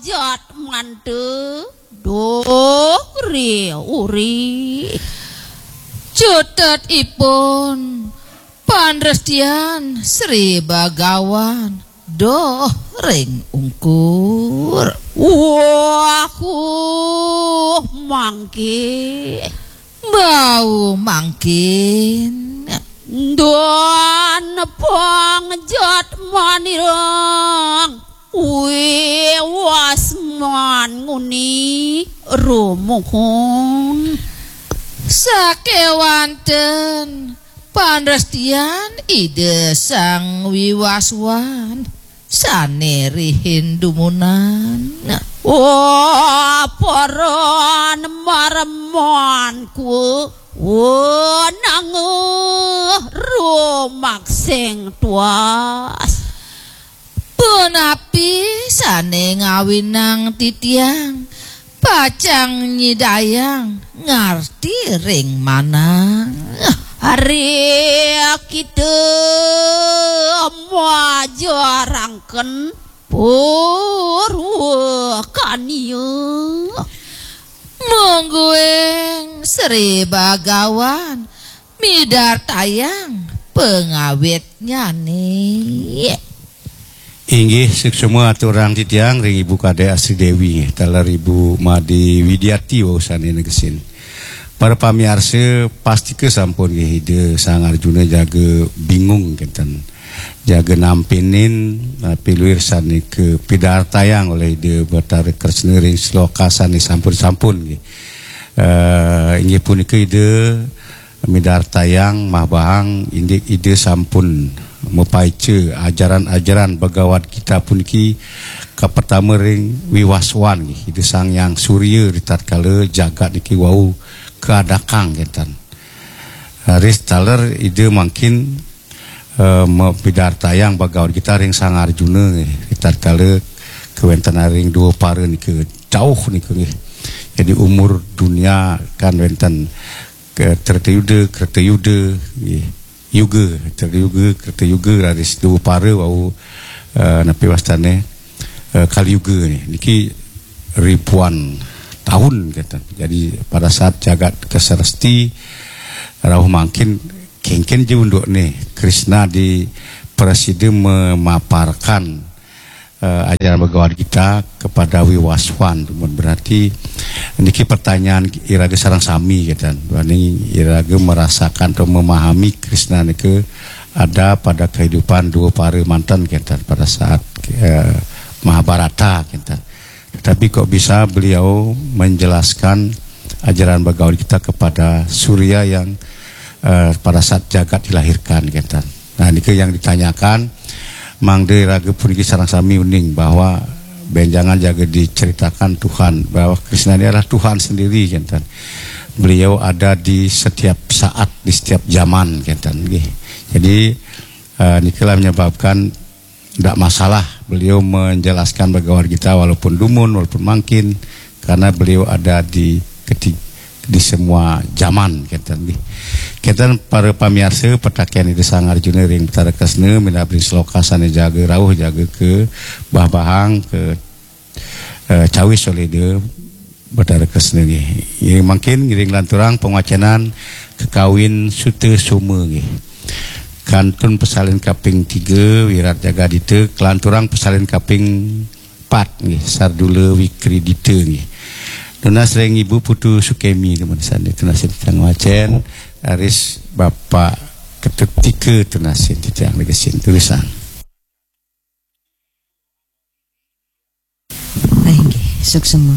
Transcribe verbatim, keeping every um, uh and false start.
Jatmante dori uri. Cutetipun pandrestian Sri Bagawan doh ring ungkur. Wahuh, mangke. Bau mangkin. Dan pangjat manirang wiwaswan nguni rumuhun. Sakewanten panrestian Ida Sang Wiwaswan sane rihin dumunan. Wah, paran maremanku, wah, nangeh rumaksing tuas. Punapi sane ngawinang titiang pacang nyidayang ngarti ring manah. Ari kita majarangken purwakania. Mungguing Sri Bagawan midartayang pangawitnyane. Inggih, suksma aturang titiang ring Ibu Kadek Asri Dewi, taler Ibu Made Widiati wau sane negesin. Para pamiarsa, pastika sampun nggih Ida Sang Arjuna jaga bingung kenten. Jaga nampinin, eh, piluir sane kapidartayang oleh Ida Batara Kresna ring sloka sane sampun-sampun nggih. Eh, inggih punika Ida midartayang mah bahang indik Ida sampun mapaica ajaran-ajaran Bhagavad Gita puniki kapertama ring Wiwaswan nggih, Ida Sang Hyang Surya ritatkala jagat niki wau kaadakang kenten. Raris taler Ida mangkin, eh, mapidartayang Bhagavad Gita ring Sang Arjuna nggih, ritatkala kawentenan ring Dwapara nika jauh nika nggih. Jadi umur dunia kan wenten ke Treta Yuda, Kreta Yuda, nggih. Yuga, Treta Yuga, Kreta Yuga, raris Dwapara wau, eh, napi wastane, eh, Kali Yuga ni. Niki ribuan tahun kenten. Jadi pada saat jagat kaseresti rauh mangkin kengken ja undukne Krishna di prasida memaparkan eh, ajaran Bhagavad Gita kepada Wiwaswan. Berarti niki pertanyaan iraga sareng sami kenten. Duaning iraga merasakan atau memahami Krishna nika ada pada kehidupan Dwapara manten kenten pada saat, eh, Mahabharata kenten. Tetapi kok bisa beliau menjelaskan ajaran Bhagavad Gita kepada Surya yang, eh, pada saat jagat dilahirkan kenten. Nah, nika yang ditanyakan, mangda iraga puniki sareng sami uning bahwa benjangan jaga diceritakan Tuhan, bahwa Krishna ini adalah Tuhan sendiri kenten. Beliau ada di setiap saat, di setiap zaman kenten nggih. Jadi, eh, nikalah menyebabkan ndak masalah beliau menjelaskan Bhagavad Gita walaupun dumun, walaupun mangkin, karena beliau ada di keti-, di semua zaman kenten nggih. Kenten para pamiarsa, pitaken Ida Sang Arjuna ring Batara Kresna minab ring sloka sane jaga rauh jaga kabahbahang, ka, eh, cawis oleh Ida Batara Kresna nggih. Ngiring mangkin, ngiring lanturang pangwacenan kakawin Sutasoma nggih. Kantun pasalin kaping tiga, Wirat Jagadita, kalanturang pasalin kaping pat nggih, Sardula Wikridita nggih. Tunas ring Ibu Putu Sukemi, temen sandi tunasin titiang ngwacen, raris Bapak Ketut Tika tunasin titiang negesin. Tulisan. Inggih, suksema.